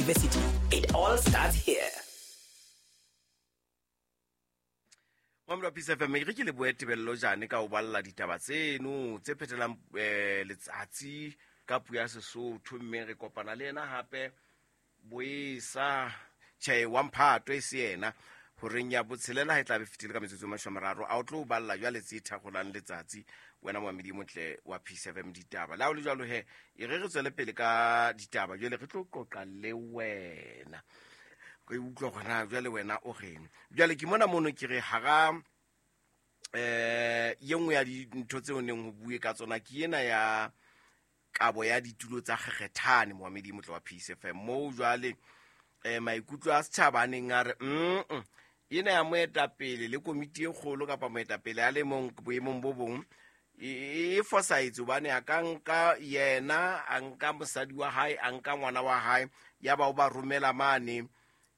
University. It all starts here. Mamelo Peace FM, e re ke lebohe Tebello Jane ka ho balla ditaba tseno tse phethelang letsatsi ka puo ya Sesotho, mme re kopana le yena hape boesa tjhe wa mphato e se yena horeng ya botshelela ha e tla be fetile ka metsotso e 30, a o tlo balla jwale tse thagolang letsatsi wena moamedi motle wa Peace FM ditaba. Le ha o le jwalo he, e re re tswele pele ka ditaba jwale re tlo qoqa le wena. Re utlwa hore na jwale wena o reng. Jwale ke mona mono ke re hara ye nngwe ya dintho tseo neng ho bue ka tsona ke ena ya kabo ya ditulo tsa kgekgethane moamedi motle wa Peace FM. Moo jwale maikutlo a setjhaba a neng a re ena ya moetapele le komiti e kgolo kapa moetapele a le mong boemong bo bong e fosahetse hobane a ka nka yena, a nka mosadi wa hae, a nka ngwana wa hae, ya ba o ba romela mane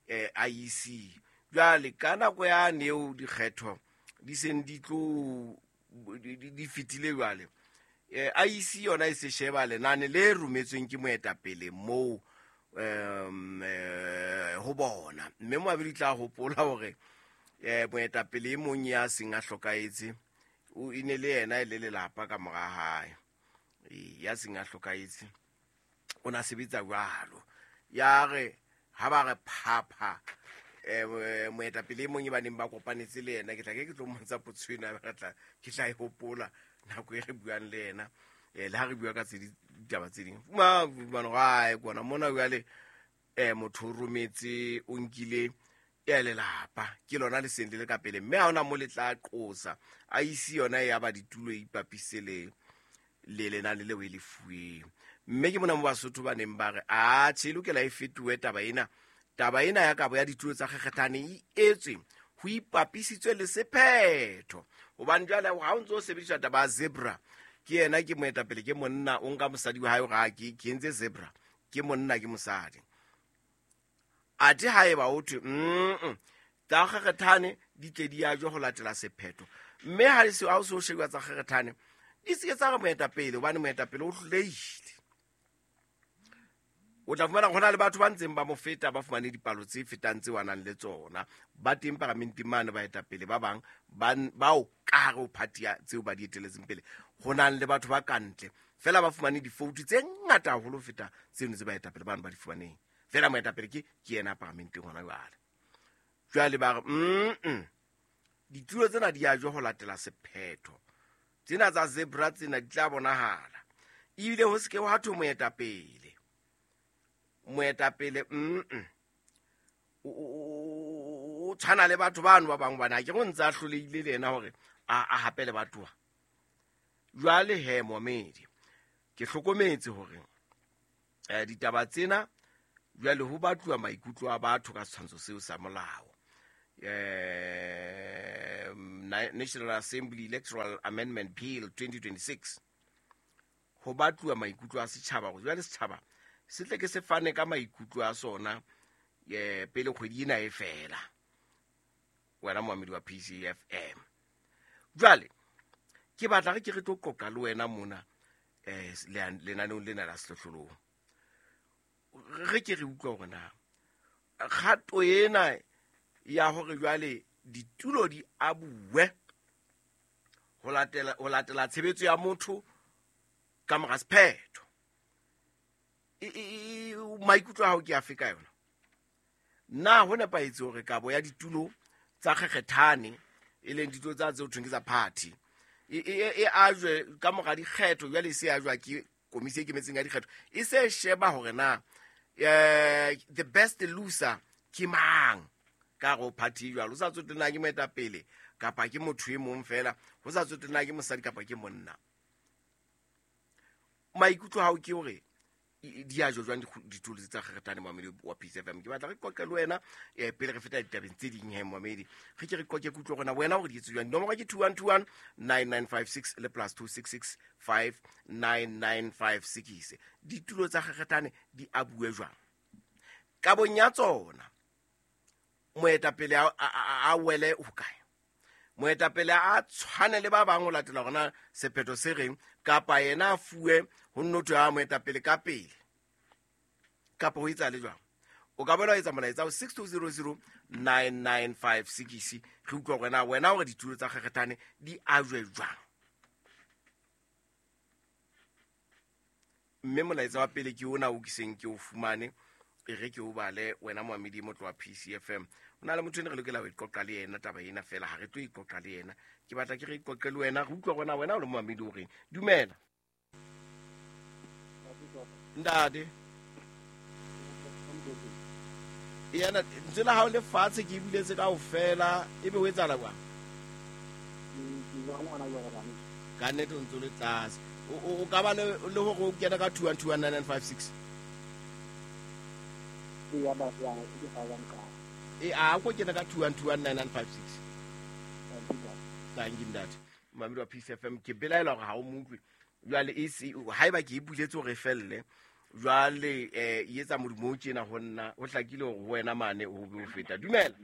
IEC. Jwale ka nako ya neo dikgetho di seng di tlo di fetile jwale, IEC yona e se sheba lenane le rometsweng ke moetapele moo ho bona. Mme moabedi tla hopola hore moetapele e mong ya seng a hlokahetse o e ne le yena e le lelapa ka mora hae. Ya seng a hlokahetse o na sebetsa jwalo. Ya re ha ba re phapha moetapele e mong e ba neng ba kopanetse le yena, ke tla ke ke tlo mmontsha potso ena, re tla ke tla e hopola nako e re buang le yena. Le ha re bua ka tse ditaba tse ding. Fuma fumana hore, ae, kwana mona jwale motho o rometse, o nkile ya lelapa, ke lona le seng le le ka pele, mme ha hona mo le tla qosa. IEC yona e ya ba ditulo e ipapise le lenane leo e le fuweng. Mme ke mona mo Basotho ba neng ba re, a tjhe, e lokela e fetohe taba ena. Taba ena ya kabo ya ditulo tsa kgekgethane e etswe ho ipapisitswe le sephetho. Hobane jwale ha o ntso o sebedisa taba ya zebra, ke yena ke moetapele, ke monna, o nka mosadi wa hae hore ha ke entse zebra, ke monna, ke mosadi. Athe ha eba ho thwe, tsa kgekgethane di tle di ajwe ho latela sephetho. Mme ha e se, ha o se o shebuwa tsa kgekgethane, di se ke tsa re moetapele, hobane moetapele o hlolehile. O tla fumana hona le batho ba ntseng ba mo feta, ba fumane dipalo tse fetang tseo a nang le tsona. Ba teng paramenteng mane baetapele ba bang, bao ka hare ho party ya tseo ba di eteletseng pele. Ho nang le batho ba kantle, feela ba fumane difoutu tse ngata haholo ho feta tseno tse baetapele bano ba di fumaneng. Feela moetapele ke yena paramenteng hona jwale. Jwale ba re, ditulo tsena di ajwe ho latela sephetho. Tsena tsa zebra tsena di tla bonahala. Ebile ho se ke hwa thwe moetapele. Moetapele, O tshwana le batho bano ba bang hobane ha ke re o ntse a hlolehile le yena hore a hape le batho ba. Jwale he, momedi, ke hlokometse hore ditaba tsena jwale ho batluwa maikutlo a batho ka setshwantsho seo sa molao. National Assembly Electoral Amendment Bill 2026. Ho batluwa maikutlo a setjhaba hore jwale setjhaba se tle ke se fane ka maikutlo a sona pele kgwedi ena e fela. Wena moamedi wa PCFM. Jwale ke batla re ke re tlo qoqa le wena mona lenaneong lena la sehlohlolong. Re ke re utlwa hore na kgato ena ya hore jwale ditulo di abuwe ho latela tshebetso ya motho ka mora sephetho. Maikutlo a hao ke afe ka yona? Na ho nepahetse hore kabo ya ditulo tsa kgekgethane, e leng ditulo tsa tseo thweng ke tsa party, e ajwe ka mora dikgetho, jwale e se ajwa ke komisi e ikemetseng ya dikgetho, e se sheba hore na the best loser ke mang ka hare ho party jwalo, ho sa tsotelle na ke moetapele kapa ke motho e mong fela, ho sa tsotelle na ke mosadi kapa ke monna. Maikutlo a hao ke hore di a jwang ditulo tsa kgekgethane moamedi wa Peace FM. Ke batla re qoqe le wena pele re feta ditabeng tse ding he moamedi. Re ke re qoqe ke utlwe hore na wena hore di etse jwang. Dinomoro ke 2121 9956 le plus 2665 9956. Ditulo tsa kgekgethane di abuwe jwang? Kabong ya tsona moetapele a wele ho kae? Moetapele a tshwane le ba bang ho latela hore na sephetho se reng, kapa yena a fuwe ho nno thwe a moetapele ka pele, kapa ho etsa le jwang? O ka boela wa etsa molaetsa ho 6200 9956. Re utlwa hore na wena hore ditulo tsa kgekgethane di ajwe jwang. Mme molaetsa wa pele ke ona o ke seng ke o fumane, e re ke o bale wena moamedi motlo wa PCFM. O na le motho ene re lokela ho iqoqa le yena taba ena fela, ha re tlo iqoqa le yena. Ke batla ke re iqoqe le wena, re utlwa hore na wena o le moamedi o reng. Dumela. Ntate. Yena ntse la hao le fatshe ke buletse kaofela, ebe ho etsahala jwang? Ka nnete o ntse o le tlase. O ka ba le hore o kena ka 2121956. E a ko kena ka 2121956. Thank you ntate. Mamedi wa Peace FM, ke belaela hore ha o mo utlwe. Jwale e se haeba ke e buletse hore e felle, jwale e etsa modumo o tjena ho nna, ho hlakile hore ho wena mane ho be ho feta. Dumela.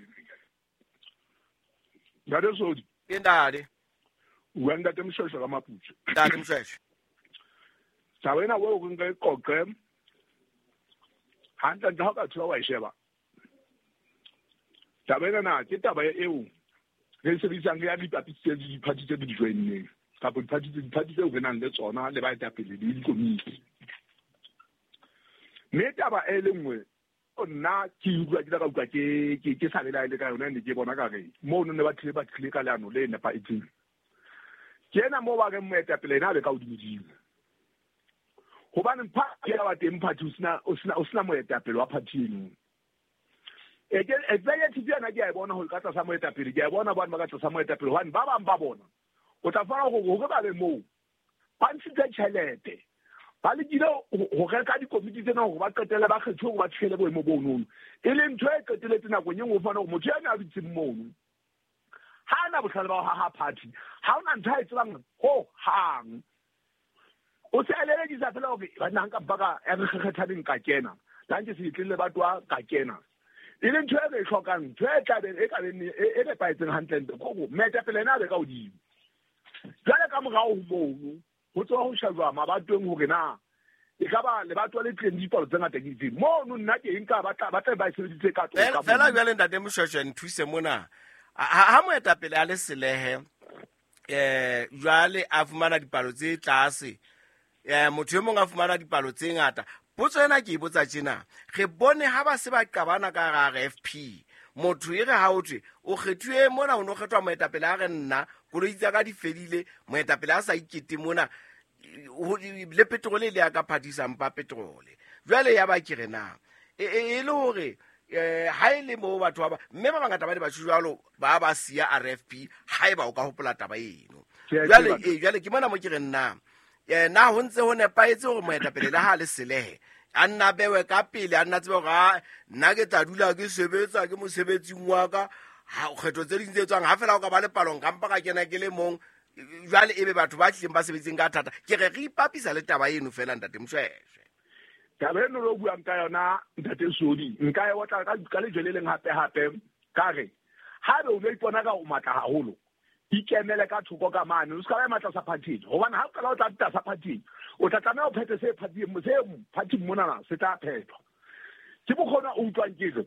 Ntate Sodi. Ke ntate. Bua ntate Moshweshwe ka Maputswe. Ntate Moshweshwe. Taba ena o re nka e qoqe hantle ntle ha o ka thola wa e sheba. Taba ena na ke taba eo re sebedisang ya dipapisi tse diphathi tse di joinneng kapa diphathi tseo re nang le tsona le baetapele le dikomiti. Mme taba e le nngwe nna ke utlwa ke ka utlwa ke sa belaele ka yona, ne ke bona ka re mono ne ba tlile ka leano le nepahetseng. Ke ena moo ba reng moetapele ena a be ka hodimodimo. Hobane party ya ba teng party o sena moetapele wa party eno. Executive yona ke a e bona hore ka tlasa moetapele, ke a e bona bane ba ka tlasa moetapele, hobane ba bang ba bona o tla fumana hore ba be moo ba ntshitse tjhelete, ba lekile ho reka dikomiti tsena hore ba qetelle ba kgethuwe hore ba fihlele boemo bonono. E leng ntho e qetelletse nakong e nngwe o fumana hore motho ena a dutseng mono ha ana bohlale ba ho haha party, ha hona ntho a e tsebang ho hang. O se a lelekisa fela hore banna nka baka ya re kgethaneng ka kena, la nke se itlele ba twa ka kena. E leng ntho e re e hlokang, ntho e tlabeng e ka beng e nepahetseng hantle ntle ke hore moetapele ena a be ka hodimo. Jwale ka morao ho mono ho tswa ho shejwa mabatoweng hore na e ka ba lebatowa le tlileng dipalo tse ngata ke itseng. Mono nna ke nka ba tla ba e sebeditse ka toka. Fela jwale ntate Moshweshwe nthuse mona. Ha moetapele a le selehe, jwale a fumana dipalo tse tlase, motho e mong a fumana dipalo tse ngata. Potso ena ke e botsa tjena, re bone ha ba se ba qabana ka hara RFP, motho e re ha o thwe o kgethuwe mona, o no kgethwa moetapele a re nna koloi tsa ka di fedile, moetapele a sa ikete mona, le petrole le ya ka phadisang pa petrole. Jwale ya ba ke re na e le hore ha e le moo batho ba mme ba bangata ba ne ba tjho jwalo, ba ba siya RFP haeba o ka hopola taba eno. Jwale jwale ke mona mo ke re nna na ho ntse ho nepahetse hore moetapele le ha le selehe a nna bewe ka pele, a nna tsebe hore nna ke tla dula ke sebetsa ke mosebetsing wa ka, ha kgetho tse ding tse tswang ha fela o ka ba le palong ka mpa ka kena ke le mong. Jwale ebe batho ba tlileng ba sebetseng ka thata. Ke re re ipapisa le taba eno fela ntate Moshweshwe. Taba eno lo buang ka yona ntate Sodi, nka e otla ka lejwe le leng hape hape ka re ha be o no ipona ka o matla haholo, ikemele ka thoko ka mane, o ska ba matla sa party, hobane ha o qala o tla tlasa party o tla tlameha o phethe se party se party mona se tla phethwa. Ke bokgona o utlwang ke re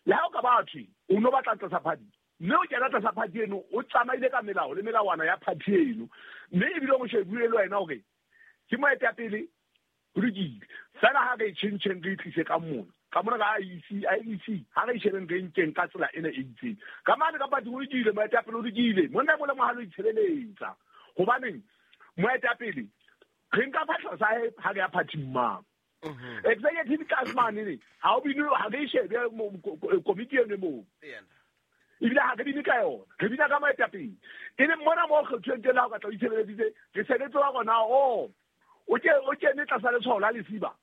le ha o ka ba thwe o no batla tlasa party, mme o kena tlasa party eno o tsamaile ka melao le melawana ya party eno, mme ebile o shebile le wena hore ke moetapele ho lokile. Fela ha re tjhentjheng re tlise ka mona ka mona ka IEC ha re shebeng re nkeng ka tsela ena e itseng ka mane ka party ho lokile, moetapele o lokile, monna e mong le mong ha lo itshebeletsa. Hobaneng moetapele re nka phahlo sa hae ha re ya party mang. Executive class mane ne ha o bine ha re shebe komiti eno moo, ebile ha re bine ka yona, re bina ka moetapele. E leng mona moo kgethuweng teng ha o ka tla o itshebeleditse, re sebetse wa rona o kene tlasa letshwao la lesiba.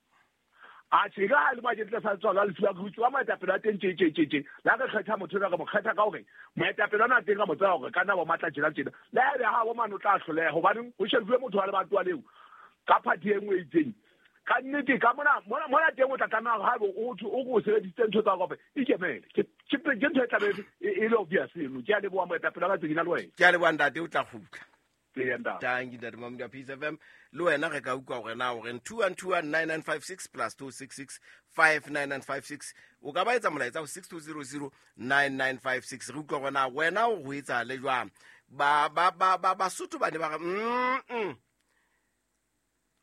A tjhe ka ha le makete tlasa letshwao la lesiba, re utlwa moetapele wa teng tje tje tje tje. La re kgetha motho ena, re mo kgetha ka hore moetapele ona teng ka mo tseba hore ka nna bo matla tjena tjena. Le ha ebe ha bo mane o tla hloleha, hobaneng ho shebuwe motho wa lebatowa leo ka party e nngwe e itseng. Ka nnete ka mona mona teng o tla tlameha hore haebe o thwe o ko sebedisitse ntho tsa hao ikemele. Ke ntho e tlabe e le obvious eno. Ke a leboha moetapele wa ka tsena le wena. Ke a leboha ntate, o tla kgutla. Eya ntate. Tanki ntate Mamodi wa Peace FM. Le wena re ka utlwa hore na o reng 21219956 plus 266 59956. O ka ba etsa molaetsa ho 6200 9956. Re utlwa hore na wena o ho etsahale jwang. Ba ba ba ba Basotho ba ne ba re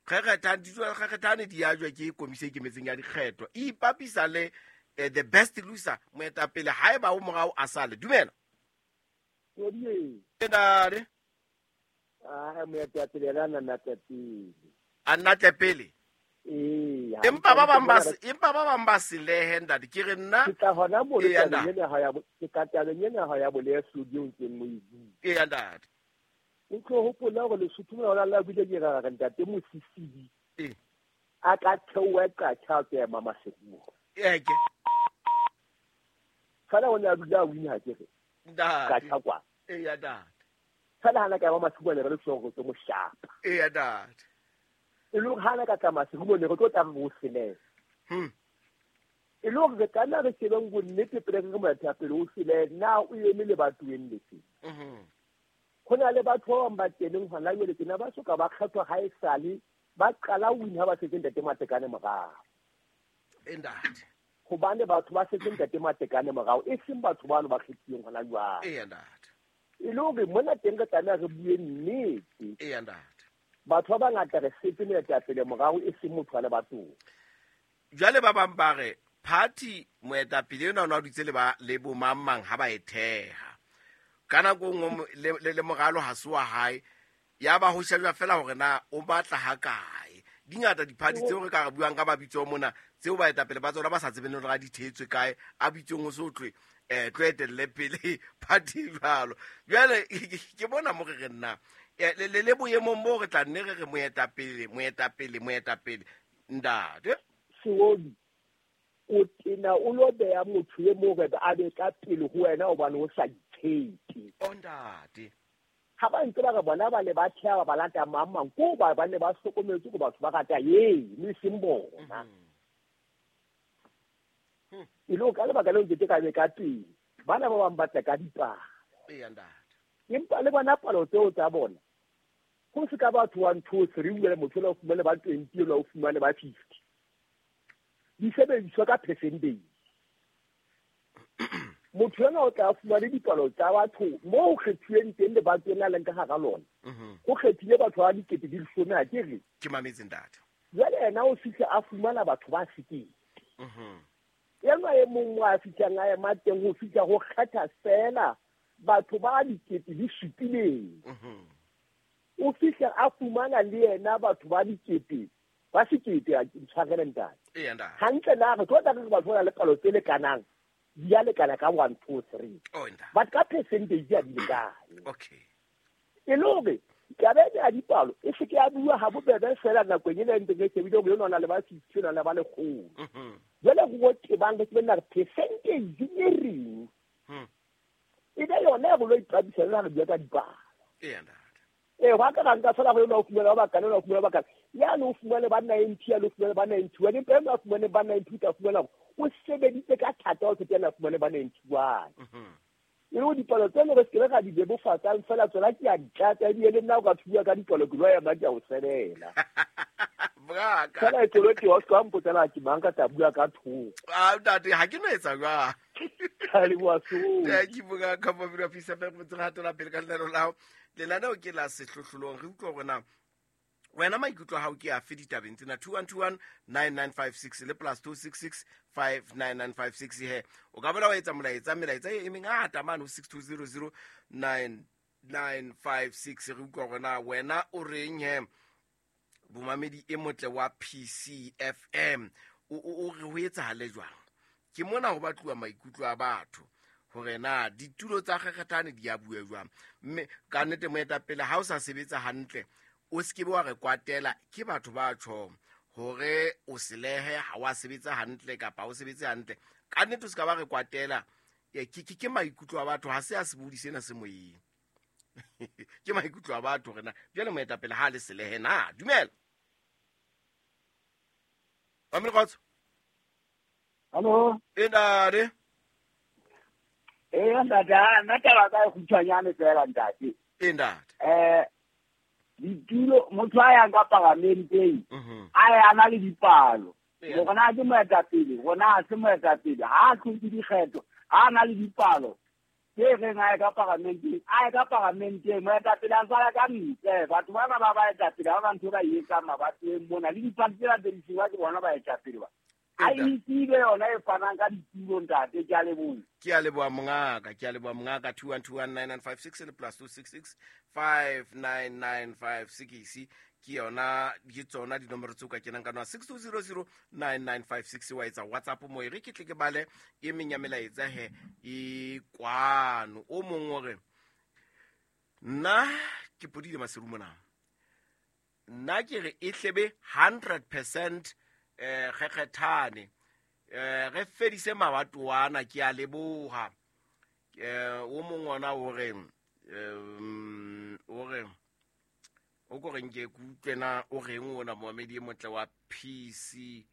kgekgethane di ajwa ke komisi e ikemetseng ya dikgetho. E ipapisa le the best loser, moetapele haeba o morao a sale. Dumela. Kodie. Ntate. Ah, moetapele yena a nna tle pele. A nna tle pele. Ee. Empa ba bang ba empa ba bang ba selehe, ntate. Ke re nna Ke tla hona mo Eya, tabeng ntate. ena ha ya ke ka tabeng ena ha ya bolehlodi o ntseng mo e bua. Eya, ntate. O tlo hopola hore Lesotho mona hona le bile ke ra re ntate Mosisili. Ee. A ka theoha qatjha a tswa Maseruo. Eke. Fela o ne a dula a wina ke re. Ntate. Qatjha kwa. Eya, ntate. Fela hana ka ba Maseruo ne re le sure tlo mo shapa. Eya, ntate. E le hore hana ka tla Maseruo ne re tlo tla re o selehe. E le hore re tlameha re shebeng bonnete pele re re moetapele o selehe, na o eme lebatoweng lefe? Ho na le batho ba bang ba keneng hona jwale tjena ba soka ba kgethwa ha esale ba qala ho win ha ba setse ntate Matekane morao. Ntate. Hobane batho ba setse ntate Matekane morao, e seng batho bano ba kgethilweng hona jwale. Eya, ntate. E le hore mona teng re tlameha re bue nnete. Eya, ntate. Batho ba bangata re setse moetapele morao, e seng motho wa lebatong. Jwale ba bang ba re party moetapele enwa o ne a dutse le ba le bo mang mang ha ba e theha. Ka nako e nngwe le moralo ha se wa hae, ya ba ho shejwa fela hore na o batla ha kae. Di ngata di-party tseo re ka re buang ka mabitso mona, tseo baetapele ba tsona ba sa tsebeng hore a di thetswe kae, a bitsong ho se ho tlwe, tlo etelle pele party jwalo. Jwale ke bona mo re re nna, le boemong bo re tla nne re re moetapele, moetapele, moetapele. Ntate. Seoli, o tena o lo beha motho e mong hore a be ka pele ho wena hobane o sa itshepe. O ntate. Ha ba ntse ba re bona ba ne ba theha ba lata mang mang, ko ba ne ba hlokometse hore batho ba rata ye, mme e seng bona. E le ka lebaka leo nkete ka be ka pele, bana ba bang ba tla ka dipalo. Eya, ntate. Empa le bona palo tseo tsa bona, ho se ka batho 1, 2, 3, o le motho o fumane ba 20, o fumane ba 50. Di sebediswa ka percentage. Motho ena o tla fumane dipalo tsa batho moo ho kgethuweng teng le batho ena leng ka hara lona. Ho kgethile batho ba 10,010 ha ke re. Ke mametse ntate. Jwale yena o fihle a fumana batho ba 1,000. Enwa e mong mo a fihlang a ema teng ho fihla ho kgetha fela batho ba 7,000. O fihle a fumana le yena batho ba 1,000. Ba 1,000 a tshwarele ntate. Eya, ntate. Hantle na re tlo tla re batho ba na le palo tse lekanang, di a lekana ka 1, 2, 3. Oh, ntate. But ka percentage ya di lekane. Okay. E le hore taba ena ya dipalo e se ke ya bua ha bobebe fela nakong ena e ntseng e shebile hore yona o na le ba 60, o na le ba 100. Jwale ho tebang re tsebe na re percentage e reng. E be yona e re lo iqabisa le ha re bua ka dipalo. Eya, ntate. Wa ka nka fela hore o fumana ba bakana, o fumana ba bakana. Ya no fumane ba 90, ya no fumane ba 91. Empa ena fumane ba 90, o tla fumana hore o sebeditse ka thata ho fetela fumane ba 91. E le hore dipalo tseno re se ke ra di bebofatsang fela tsona ke a di tlatsa, ebile le nna o ka thuwa ka dipalo ke lo ema ke a o sebela. Braka. Fela e tswele teng, o se ka mpotsa na ke mang ka tla bua ka thoko. Ah, ntate, ha ke no etsa jwang. Ka leboha so. Thank you, Bongaka, for being a piece of paper. Re hatela pele ka lenaneo la hao. Lenaneo ke la sehlohlolong. Re utlwa hore na wena maikutlo a hao ke afe ditabeng tsena? 2121 9956 le plus 266 59956 he. O ka boela wa etsa molaetsa, melaetsa e mengata mane ho 6200 9956. Re utlwa hore na wena o reng he, bomamedi e motle wa PCFM. O re ho etsahale jwang? Ke mona ho batluwa maikutlo a batho hore na ditulo tsa kgekgethane di a bue jwang. Mme ka nnete moetapele ha o sa sebetsa hantle, o se ke be wa re kwatela ke batho ba tjhong hore o selehe ha wa sebetsa hantle kapa ha o sebetse hantle. Ka nnete o se ka ba re kwatela. Ke maikutlo a batho, ha se a sebodi sena se moyeng. Ke maikutlo a batho hore na jwale moetapele ha le selehe na. Dumela. Mamele kgotso. Hallo. E ntate. Ntate, nna taba ka e kgutshwanyane fela ntate. E ntate. Ditulo motho a yang ka paramenteng a ya na le dipalo. Hore na ke moetapele, rona ha se moetapele, ha a tlotse dikgetho, ha a na le dipalo tse reng a ye ka paramenteng, a ye ka paramenteng, moetapele a sala ka ntle. Batho bana ba baetapele ha ba ntho ba e etsang mabatoweng mona, le dipati tsena tse di tsejwa ke bona baetapele ba. IEC be yona e fanang ka ditulo ntate, ke a leboha. Ke a leboha mongaka, ke a leboha mongaka. 21219956 le plus 266 59956 ke yona, ke tsona dinomoro tseo ka kenang ka nwa 62009956 wa etsa WhatsApp mo e re ke tle ke bale e meng ya melaetsa he e kwano. O mong o re nna ke podile Maseru mona, nna ke re e hlebe 100% kgekgethane, re fedise mabatoana, ke a leboha. O mong ona o re o re o ko reng ke kutlwe na o reng ona moamedi e motle wa PCFM.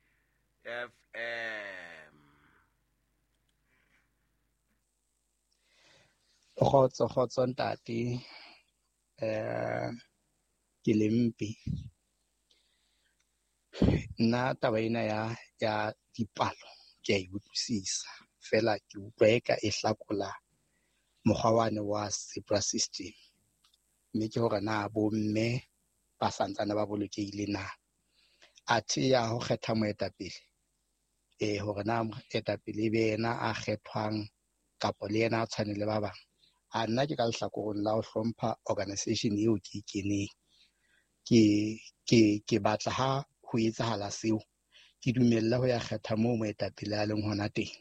Kgotso, kgotso ntate. Ke lempe. Nna taba ena ya dipalo ke a e utlwisisa, fela ke utlwa eka e hlakola mokgwa wane wa zebra system. Mme ke hore na bomme ba santsane ba bolokehile na. Athe ya ho kgetha moetapele, hore na moetapele e be yena a kgethwang kapa le yena a tshwane le ba bang. A nna ke ka lehlakoreng la ho hlompha organization eo ke e keneng. Ke batla ha ho etsahala seo, ke dumelle ho ya kgetha moo moetapele a leng hona teng.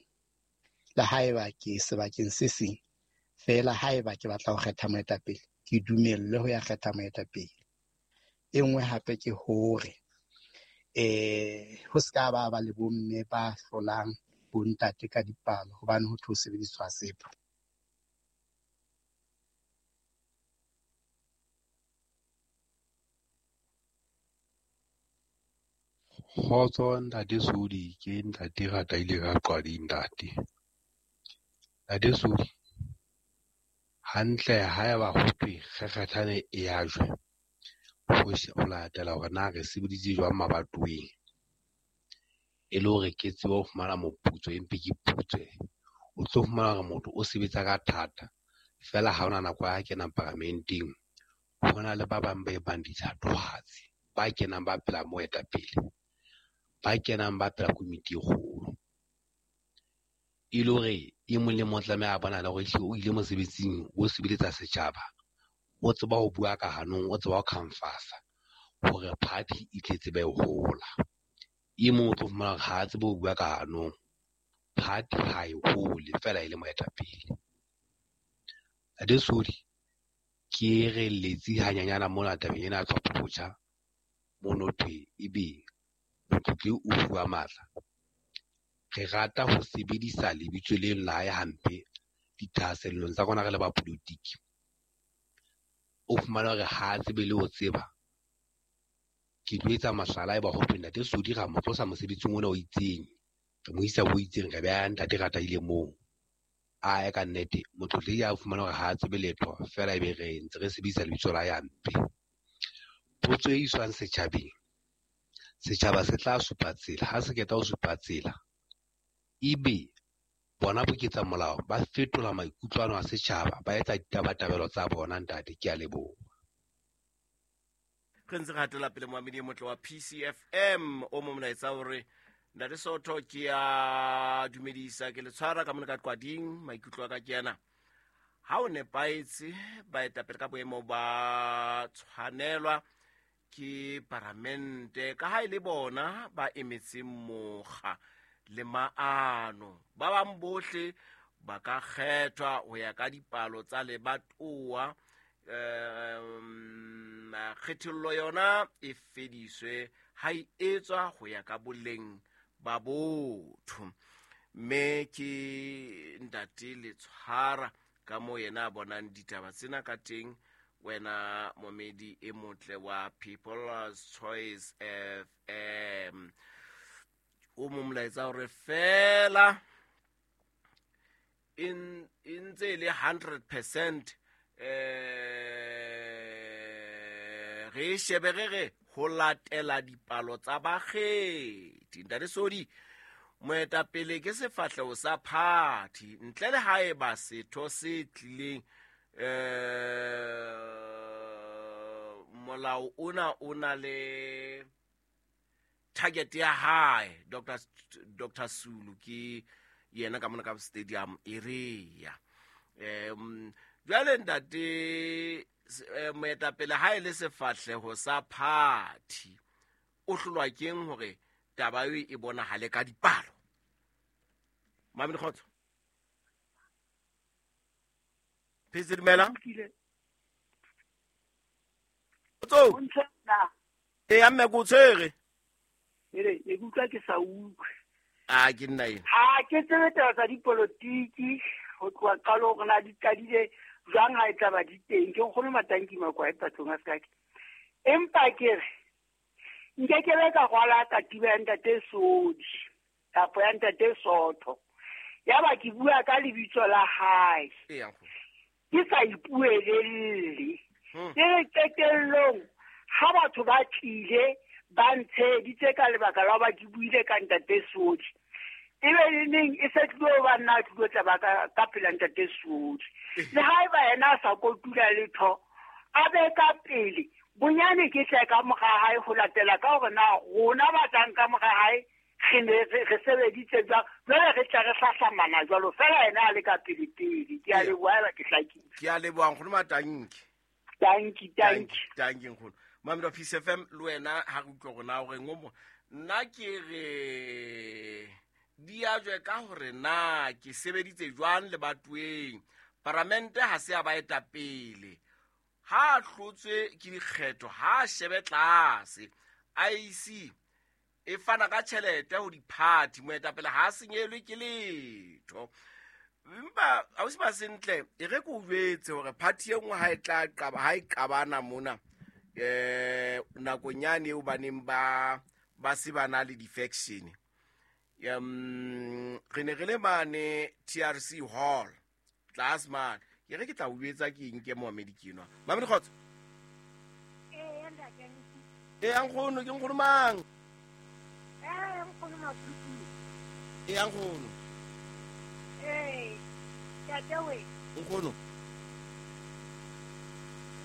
Le haeba ke sebakeng se seng, fela haeba ke batla ho kgetha moetapele, ke dumelle ho ya kgetha moetapele. E nngwe hape ke hore ho ska ba ba le bomme ba hlolang bontate ka dipalo hobane ho tlo sebediswa sepo. Kgotso ntate Sodi, ke ntate Rataile ka Qwadi ntate. Ntate Sodi, hantle haeba ho thwe kgekgethane e ya jwe, ho latela hore na re sebeditse jwang mabatoweng, e le hore ke tsebe ho fumana moputso empe ke putswe. O tlo fumana hore motho o sebetsa ka thata, fela ha hona nako ya kenang paramenteng, ho na le ba bang ba ebang dithatohatsi, ba kenang ba pela moetapele, ba kenang ba pela komiti e kgolo. E le hore e mong le mong tlameha a bona le hore ehlile o ile mosebetsing, o sebeletsa setjhaba, o tseba ho bua ka hanong, o tseba ho khanfasa hore party e tle tsebe ho hola. E mong o tlo fumana hore ha a tsebe ho bua ka hanong, party ha e hole fela e le moetapele. Ntate Sodi, ke re letsi hanyanyana mona tabeng ena ya tlhopho botjha, mono thwe ebe motlotli o fuwa matla. Re rata ho sebedisa lebitso leno la hae hampe dithahasellong tsa rona re le ba politiki. O fumana hore ha a tsebe le ho tseba. Ke tlo etsa mohlala eba ho thwe ntate Sodi ra mo tlosa mosebetsing ona o itseng, re mo isa ho itseng, re beha ntate Rataile moo. Ae ka nnete, motlotli ya fumana hore ha a tsebe letho, fela ebe re ntse re sebedisa lebitso la hae hampe. Potso e iswang setjhabeng, setjhaba se tla supa tsela. Ha se qeta ho supa tsela, ebe bona boketsa molao ba fetola maikutlo ano a setjhaba, ba etsa ditabatabelo tsa bona. Ntate, ke a leboha. Re ntse re hatela pele moamedi e motle wa PCFM. O mo molaetsa hore ntate Soto ke a dumedisa, ke le tshwara ka mona ka Qwading. Maikutlo a ka ke ana, ha o nepahetse baetapele ka boemo ba tshwanelwa ke paramente, ka ha e le bona ba emetseng mokga le maano. Ba bang bohle ba ka kgethwa ho ya ka dipalo tsa lebatowa. Kgethollo yona e fediswe ha e etswa ho ya ka boleng ba botho. Mme ke ntate Letshwara ka moo yena a bonang ditaba tsena ka teng. Wena momedi e motle wa People's Choice FM, o mo molaetsa hore fela e ntse e le 100% re Re e shebe re re ho latela dipalo tsa bakgethi. Ntate Sodi, moetapele ke sefahleho sa party ntle le haeba setho se tlileng molao ona o na le target ya hae. Dr Sulu ke yena ka mona ka stadium area. Jwale ntate moetapele ha e le sefahleho sa party o hlolwa keng hore taba eo e bonahale ka dipalo? Mami Kgotso. Phetse dumela. Kgotso. E mme go tshwere. Ere e utlwa ke sa utlwe. A ke nna ena. Ha ke tsebe taba tsa dipolotiki ho tloha qalong hore na di qadile jwang ha e tla ba di teng. Ke nkgono Matanki Makwae patlong a seka ke. Empa ke re nke ke be ka rwala katiba ya ntate Sodi kapa ya ntate Sotho. Yaba ke bua ka lebitso la hae. Ke sa ipuelelle. Ke re qetellong ha batho ba tlile ba ntsheditse ka lebaka la ba ke buile ka ntate Sodi. Ebe le neng e se tlilo ba nna tlilo tla ba ka pela ntate Sodi. Le haeba yena a sa kotula letho a be ka pele bonyane ke tle ka mora hae ho latela ka hore na rona ba tlang ka mora hae re ne re sebeditse jwang. Jwale re tla re hlahlamana jwalo fela yena a le ka pele pele. Ke a leboha ke hlakile. Ke a leboha nkgono Matanki. Tanki tanki. Tanki nkgono. Mamelo Peace FM le wena ha re utlwe rona hore ngomo nna ke re di ajwe ka hore na ke sebeditse jwang le batweng. Paramente ha se ya ba etapele. Ha hlotswe ke dikgetho ha shebe tlase. IEC e fana ka tjhelete ho di-party moetapele ha senyelwe ke letho. Empa ausi ba sentle e re ke o jwetse hore party e nngwe ha e tla qaba ha e qabana mona nakong yane eo baneng ba se ba na le di-faction. Re ne re le mane TRC Hall tlase mane. Ke re ke tla o jwetsa ke eng ke moamedi ke enwa. Mamedi Kgotso. E nkgono ke nkgono mang? Nkgono Maputi. E nkgono. Tatawe. Nkgono.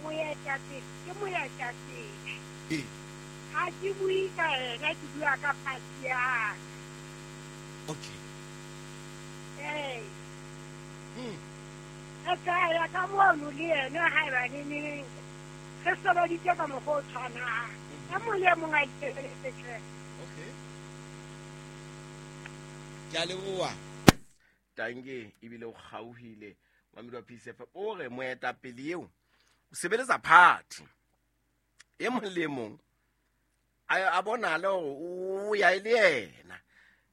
Moetapele, ke moetapele. Ha ke bue ka ena, ke bua ka party ya ka. Okay. Re tla ya ka mono le yena haeba neneng re sebeditse ka mokgwa o tshwanang. E mong le e mong a ikebeletse tjhelete. Okay. Ke a leboha. Tanke ebile o kgauhile Mamedi wa Peace FM o re moetapele eo o sebeletsa party. E mong le mong a bonale hore o ya e le yena.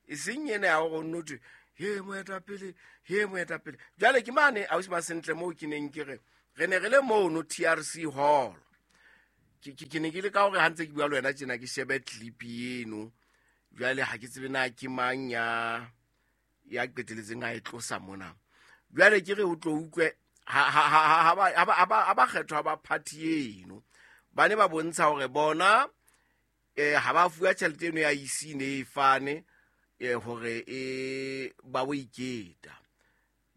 E seng ena ya hore o nno thwe he moetapele, he moetapele. Jwale ke mane ausi ba sentle moo ke neng ke re re ne re le mono TRC Hall. Ke ne ke le ka hore ha ntse ke bua le wena tjena ke shebe clip eno. Jwale ha ke tsebe na ke mang ya qeteletseng a e tlosa mona. Jwale ke re o tlo utlwe ha ba kgethwa ba party eno. Ba ne ba bontsha hore bona ha ba fuwa tjhelete eno ya IC ne e fane hore ba bo iketa.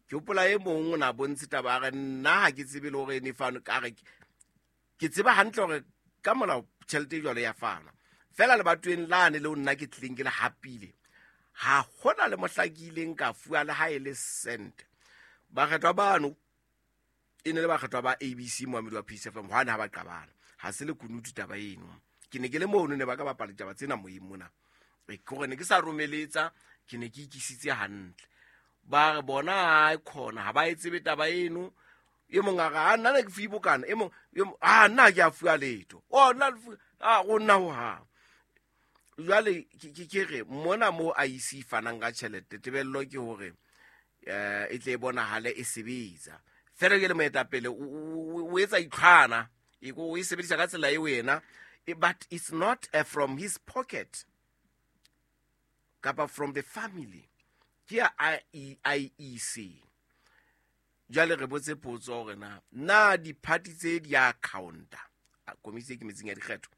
Ke hopola e mong o na bontshe taba a re nna ha ke tsebe le hore ne fane ka re ke tseba hantle hore ka molao tjhelete jwalo ya fana. Fela le batweng lane le nna ke tlileng ke le hapile. Ha hona le mohla ke ileng ka fuwa le ha e le cent. Bakgethwa bano e ne le bakgethwa ba ABC Moamedi wa Peace FM hwane ha ba qabana. Ha se le kunutu taba eno. Ke ne ke le mono ne ba ka bapala ditaba tsena moyeng mona. Ke hore ne ke sa romeletsa, ke ne ke ikisitse hantle. Ba re bona ha khona ha ba e tsebe taba eno. E mong a re a nna ne ke fuwe bokana, e mong a nna ke a fuwa letho. O nna a go nna ho ha. Jwale ke re mona mo IEC fanang ka tjhelete tebello ke hore e tle e bonahale e sebetsa. Fela ke le moetapele o etsa itlhwana, e go e sebedisa ka tsela e wena, but it's not from his pocket kapa from the family. Ke ya IEC. Jwale re botse potso hore na di-party tse di a counter Komiti e ikemetseng ya dikgetho.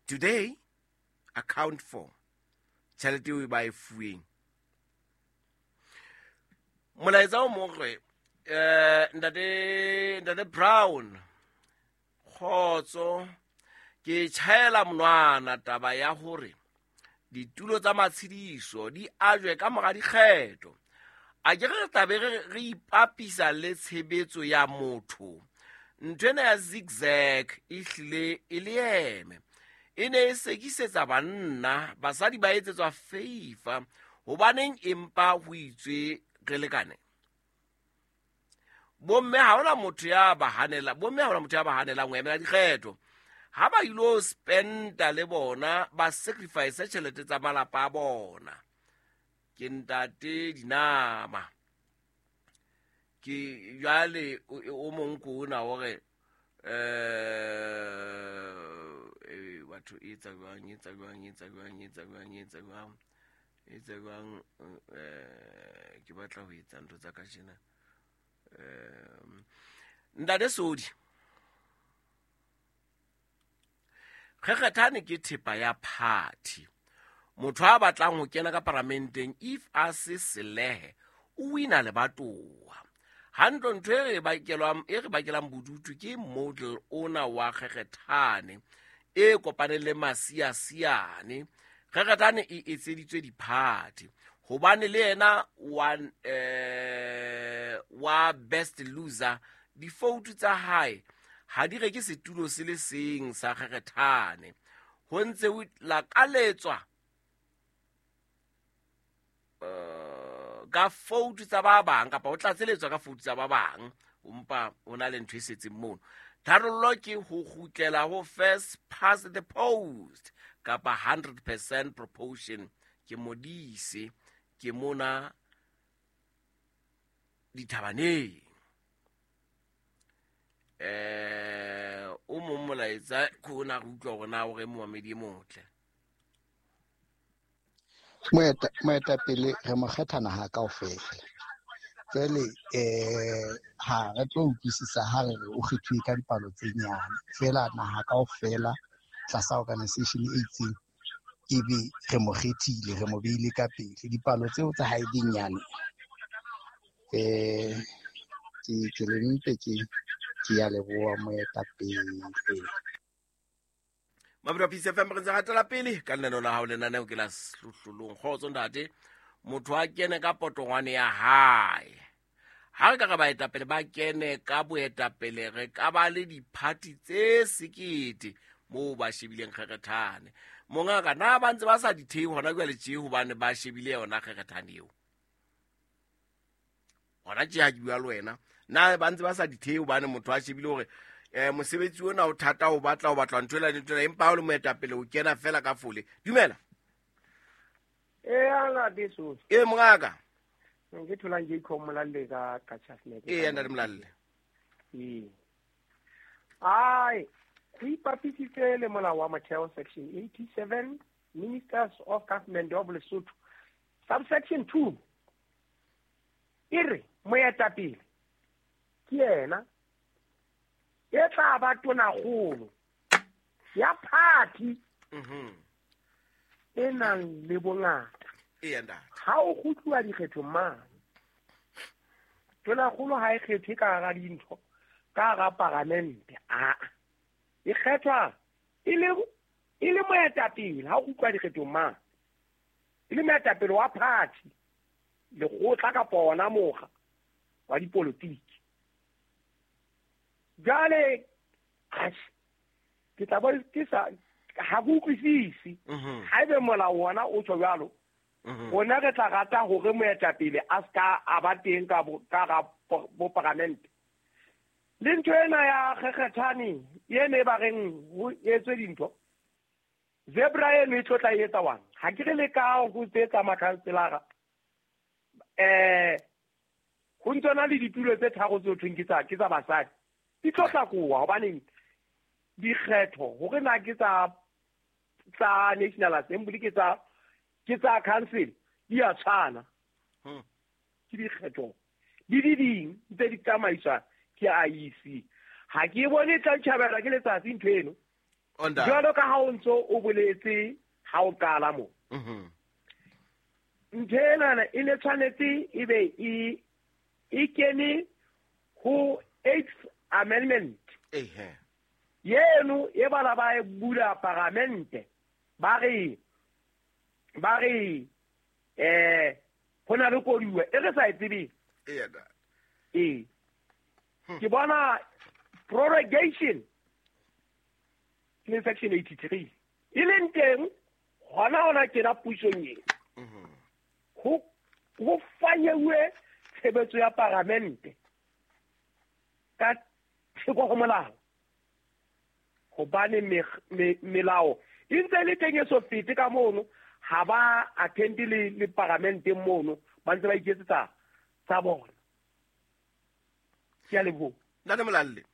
Today account for tjhelete eo ba e fuweng. Molaetsa o mong re ntate Brown kgotso ke tjhaela monwana taba ya hore ditulo tsa matshediso di ajwe ka mora dikgetho. A ke re tlabe re ipapisa le tshebetso ya motho. Ntho ena ya zigzag e hlile e le eme. E ne e sekisetsa banna, basadi ba etsetswa favor. Hobaneng empa ho itswe re lekane? Bomme ha hona motho ya ba hanela, bomme ha hona motho ya ba hanelang ho emela dikgetho. Ha ba ilo spenda le bona, ba sacrifice tjhelete tsa malapa a bona. Ke ntate Dinama. Ke jwale o mong ko ona hore batho e etsa jwang, ke batla ho etsa ntho tsa kajeno. Ntate Sodi, kgekgethane ke thepa ya party. Motho a batlang ho kena ka paramenteng if a se selehe o wina lebatowa. Hantle ntho e re bakelang bodutu ke model ona wa kgekgethane e kopaneng le masiasiane. Kgekgethane e etseditswe di-party hobane le yena wa best loser difoutu tsa hae ha di reke setulo se le seng sa kgekgethane. Ho ntse ho lakaletswa ka foutu tsa ba bang kapa ho tlatseletswa ka foutu tsa ba bang, empa ho na le ntho e setseng mono. Tharollo ke ho kgutlela ho first past the post kapa 100% proportion. Ke Modise, ke mona dithabaneng. O mong molaetsa ke ona re utlwa hore na o re momamedi e motle. Moetapele re mo kgetha naha kaofela. Jwale ha re tlo utlwisisa ha re re o kgethuwe ka dipalo tse nyane. Feela naha kaofela tlasa organization e itseng ebe re mo kgethile, re mo beile ka pele. Dipalo tseo tsa hae di nyane. Ke le mpe ke ya leboha moetapele. Mabura Peace FM re ntse hatela pele ka lenaneo la hao, lenaneo ke la Sehlohlolong. Kgotso ntate, motho a kene ka potongwane ya hae. Ha re ka re baetapele ba kene ka boetapele, re ka ba le di-party tse sekete moo ba shebileng kgekgethane. Mongaka, na ba ntse ba sa di thehe hona jwale tje hobane ba shebile yona kgekgethane eo? Hona tje ha ke bua le wena, na ba ntse ba sa di thehe hobane motho a shebile hore mosebetsi ona o thata, o batla ntho ena le ntho ena, empa ha o le moetapele o kena fela ka fole. Dumela. Ala mongaka. Ke tholang Jacob Molalle ka Qacha's. Ntate Molalle. Ai, re ipapisitse le molao wa motheo section 87, Ministers of Government of Lesotho, subsection 2. E re moetapele ke yena e tla ba tonakgolo ya party e nang le bongata. Ha o kgutluwa dikgethong mane, tonakgolo ha e kgethwe ka hara dintho, ka hara paramente, e kgethwa e le moetapele ha o kgutluwa dikgethong mane, e le moetapele wa party, lekgotla kapa ona mokga wa dipolotiki. Jwale ke tla bo ke sa ha ke utlwisise. Haebe molao ona o tjho jwalo, rona re tla rata hore moetapele a ska a ba teng ka ga bo paramente. Le ntho ena ya kgekgethane ene e ba reng ho etswe dintho, zebra eno e tlo tla etsa wang? Ha ke re le ka ho tsetsa makhanselara ho ntso na le ditulo tse tharo tse thweng ke tsa basadi, di tlo tlakoa hobane dikgetho hore na ke tsa National Assembly ke tsa council di a tshwana. Ke dikgetho di di ding tse di tsamaiswa ke IEC. Ha ke bone tla tjhabelwa ke letsatsi ntho eno. Jwalo ka ha o ntso o boletse ha o qala mo. Ntho enana e ne tshwanetse e be e kene ho 8th Amendment. Yeno e bala ba e bula paramente ba re ho na le koduwa e re sa e tsebeng. Ke bona prorogation le section 83 e leng teng hona kena pusong e ho fanyeuwe tshebetso ya paramente ka theko ho molao, hobane melao e ntse le teng e so fete ka mono, ha ba attend le paramente mono, ba ntse ba iketsetsa tsa bona. Ke a leboha. Ntate Molalle.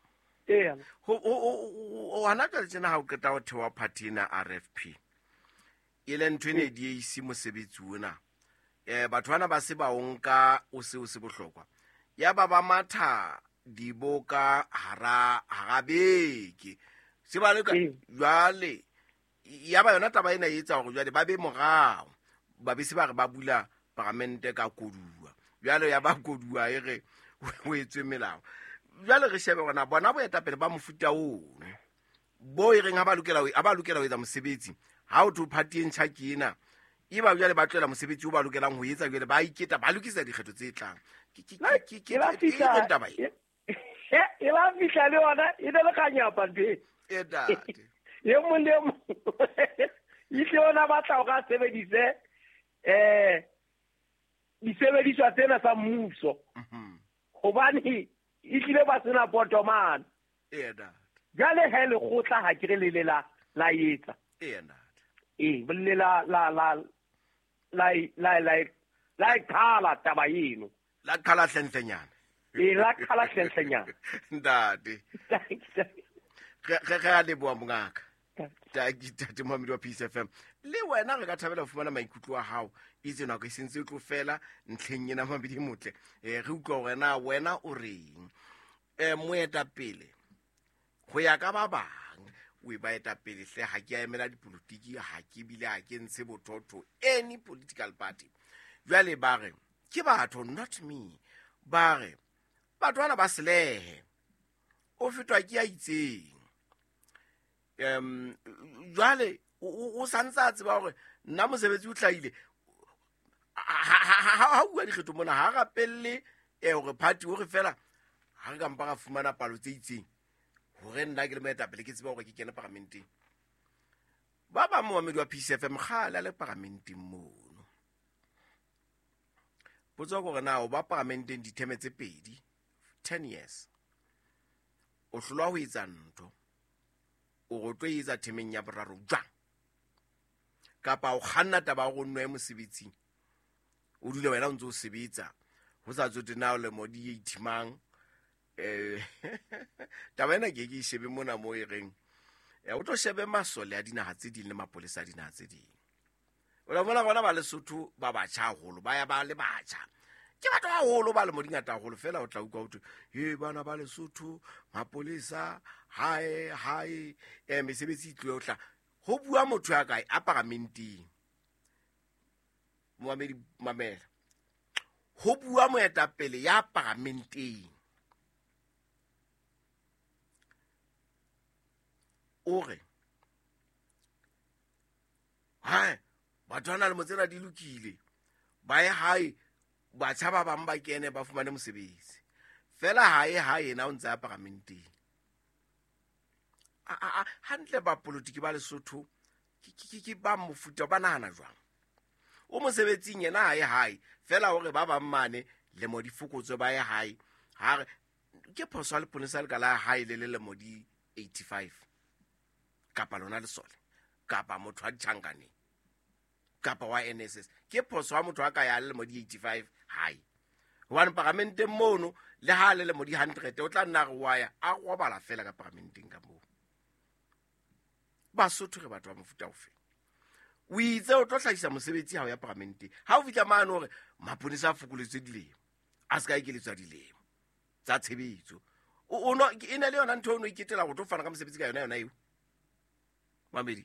Ho hana jwale tjena ha o qeta ho thewa party ena RFP, e le ntho ene di ise mosebetsi ona. Batho bana ba se ba o nka o se o se bohlokwa. Ya ba ba matha diboka hara beke. Se ba le ka jwale ya ba yona taba ena e etsa hore jwale ba be morao. Ba be se ba re ba bula paramente ka koduwa. Jwale ya ba koduwa e re o etswe melao. Jwale re shebe hore na bona boetapele ba mofuta ono bo e reng ha ba lokela ho etsa mosebetsi, ha o tho party e ntjha ke ena, e ba jwale ba tlohela mosebetsi o ba lokelang ho etsa, jwale ba iketa ba lokisa dikgetho tse tlang. Ke taba e. E ba fihla le yona e le kganyapa ntho e. E mong le mong ihle ona batla o ka sebedise disebediswa tsena tsa mmuso. Hobane ehlile ba sena potomane. Jwale he lekgotla ha ke re le la la etsa. Le la la la la la la la qhala taba eno. La qhala hlentlenyana. La qhala hlentlenyana. Ntate. Re a leboha mongaka. Tate Mohamedi wa Peace FM. Le wena re ka thabela ho fumana maikutlo a hao. Itse nako e sentse e tlo fela ntlheng ena Mohamedi motle. Re utlwa hore na wena o reng. Moetapele ho ya ka ba bang o e baetapele hle, ha ke a emela dipolotiki, ha ke bile ha ke ntshe bothotho any political party. Jwale ba re ke batho, not me. Ba re batho bana ba selehe, o fetwa ke ya itseng. Jwale o santse a tseba hore nna mosebetsi o hlahile. Ha bua dikgetho mona ha rapelle hore party hore fela ha re ka mpa ra fumana palo tse itseng hore nna ke le moetapele ke tseba hore ke kene paramenteng. Ba bang moamedi wa Peace FM kgale a le paramenteng mono. Potso ke hore na o ba paramenteng ditheme tse pedi, 10 years. O hlolwa ho etsa ntho, o re o tlo etsa themeng ya boraro jwang? Kapa o kganna taba ya hore o nwe mosebetsing, o dule wena o ntse o sebetsa, ho sa tsote na o lemo di ithimang. Taba ena ke ke shebe mona mo e reng o tlo shebe masole a dinaha tse ding le mapolesa a dinaha tse ding. O la bona bona ba Lesotho ba batjha haholo, ba ya ba le batjha. Ke batho ba haholo ba le mo dingata haholo fela, o tla utlwa ho thwe he bana ba Lesotho mapolesa hae mesebetsi e tlo tla ho bua motho ya kae a paramenteng. Moamedi mamela. Ho bua moetapele ya paramenteng. O re hae batho ba na le motsena di lokile, ba ye hae batjha ba bang ba kene ba fumane mosebetsi fela. Hae yena o ntse a paramenteng. Hantle ba politiki ba Lesotho ke ba mofuta ba nahana jwang? O mosebetsing yena hae fela hore ba bang mane le mo di fokotswe ba ye hae. Ha re ke phoso le leponesa le ka la hae le le mo di 85 kapa lona lesole kapa motho wa ditjhankaneng kapa wa NSS. Ke phoso ha motho a ka ya le mo di 85 hae, hobane paramenteng mono le ha le le mo di 100 o tla nna re wa ya a robala fela ka paramenteng ka moo. Basotho re batho ba mofuta ofe? O itse o tlo hlahisa mosebetsi ha o ya paramenteng. Ha o fihla mane hore maponesa a fokoletswe dilemo, a se ka ekeletswa dilemo tsa tshebetso, O no e ne le yona ntho o no iketela go tlo fana ka mosebetsi ka yona yona eo. Mamedi,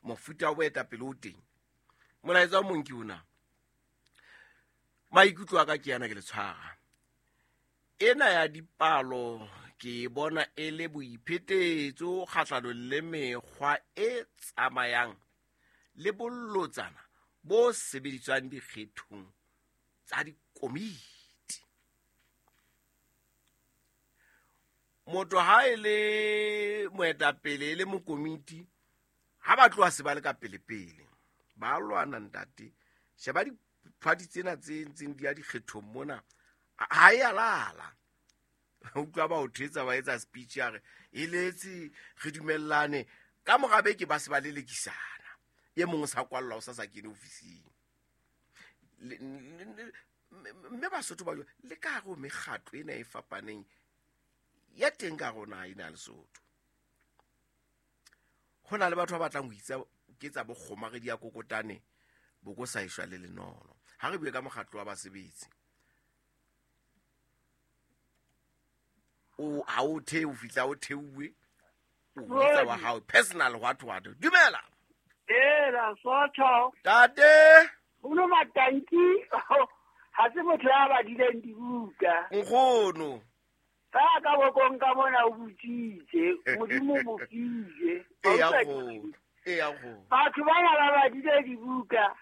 mofuta wa boetapele o teng. Molaetsa o mong ke ona. Maikutlo a ka ke yana ke le tshwara. Ena ya dipalo ke bona e le boiphetetso kgahlanong le mekgwa e tsamayang le bolotsana bo sebediswang dikgethong tsa dikomiti. Motho ha e le moetapele e le mokomiti, ha ba tloha se ba le ka pelepele ba lwana ntate. Sheba diphati tsena tse ntseng di ya dikgethong mona, ha e a lala. Utlwa ba o thetsa ba etsa speech ya re eletse re dumellane, ka mora beke ba se ba lelekisana, e mong o sa kwallwa o sa sa kene ofising. Mme Basotho ba le ka hare ho mekgatlo ena e fapaneng ya teng ka rona ena ya Lesotho, ho na le batho ba batlang ho itsa ke tsa bokgomaredi ya kokotane bo ko sa eshwa le lenono. Ha re bue ka mokgatlo wa basebetsi, o ha o the o fihla o theuwe o bitsa wa hao personal what what. Dumela. Ela Sotho. Tate. Uno matanki ha se motho ya badileng dibuka. Nkgono. Ka ka bokong ka mona o botsitse, Modimo mo file. E ya go. Batho bana ba badile dibuka.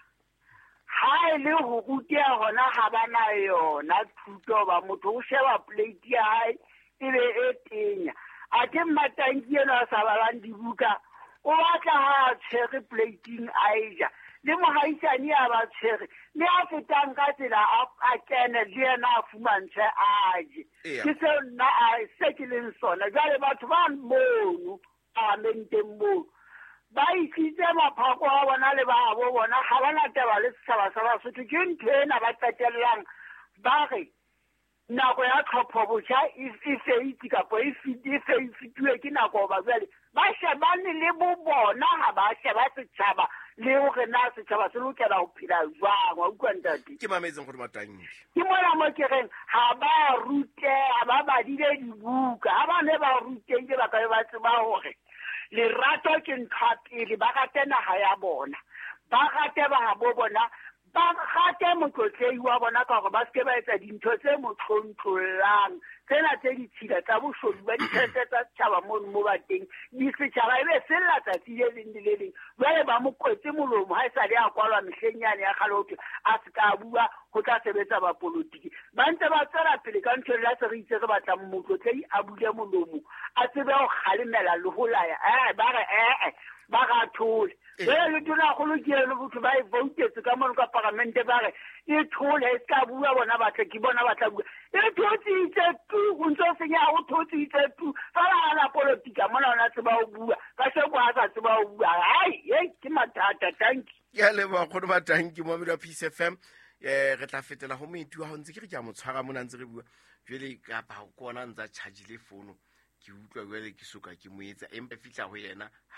Ha e le ho ruteha hona ha ba na yona thuto, ba motho o sheba plate ya hae e be e tenya. Athe Mmatanki enwa a sa balang dibuka, o batla ha a tshwere plateng a e ja. Le mohaisane a ba tshwere, le a fetang ka tsela a kene le yena a fumantshwe a je. Ke seo nna a se ke leng sona. Jwale batho ba mono parlamenteng moo ba isitse maphako a bona le ba bo bona, ha ba na taba le setjhaba sa Basotho. Ke ntho ena ba qetellang ba re nako ya tlhopho botjha e feitse kapa e fetuwe ke nako, hoba jwale ba shebane le bo bona, ha ba sheba setjhaba le hore na setjhaba se lokela ho phela jwang. Wa utlwa ntate? Ke mametseng gore Matanki. Ke mona mo ke reng ha ba ruteha, ba badile dibuka. Ha ba ne ba rutehile, ba ka be ba tseba hore lerato ke ntho ya pele, ba rate naha ya bona, ba rate ba bo bona, ba rate motlotlehi wa bona, ka hore ba seke ba etsa dintho tse mo tlontlollang, tsena tse ditshila tsa boshodu ba ditjhelete tsa setjhaba mono mo ba teng. Di setjhaba e be sella tsatsi le leng le le leng. Jwale ba mo kwetse molomo ha e sa le a kwalwa mehleng yane ya kgale, hothwe a se ka bua, ho tla sebetsa bapolotiki. Ba ntse ba tswela pele ka ntho le se re itse re batlang motlotlehi a bule molomo, a tsebe ho kgalemela le ho laya. Ba re ee, ba re a thole. Jwale le tonakgolo ke eno, botho ba e voutetse ka mono ka paramente, ba re e thole, e se ka bua, bona batle ke bona ba tla bua. E thotsitse tu, o ntso senyeha, o thotsitse tu fela. Ha na politika mona, ona tseba ho bua ka sheko, ha sa tseba ho bua. Hai, ei, ke mathata. Tanki. Ke a leboha kgono Matanki. Moamedi wa Peace FM, re tla fetela ho moeti wa hao. Ntse ke re ke a mo tshwara mona ntse re bua jwale, kapa ke ona ntse a chargile fono, ke utlwa jwale ke soka ke mo etsa, empa fihla ho yena.